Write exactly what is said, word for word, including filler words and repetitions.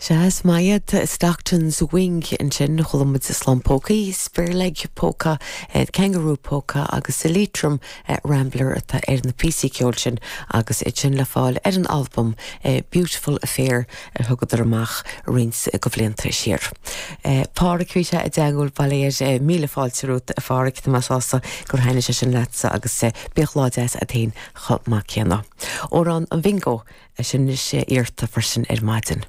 Seas maiad Stockton's Wing ansin chuala muid Slán Pócaí, Spearleg Polka, Kangaroo Polka agus sa Leitrim Rambler atá ar na píosaí ceoil sin agus é sin le fáil ar an album Beautiful Affair ar thugadar amach roinnt de bhlianta siar. Pádraic bhí sé i dteagmháil baléir míle fáilte romhat a Phádraic tá mé sásta gur thaitnigh sé sin leatsa agus bíodh lá deas agat féin chomh maith céanna. Amhrán an Bingo sin is iarrta freisin ar maidin.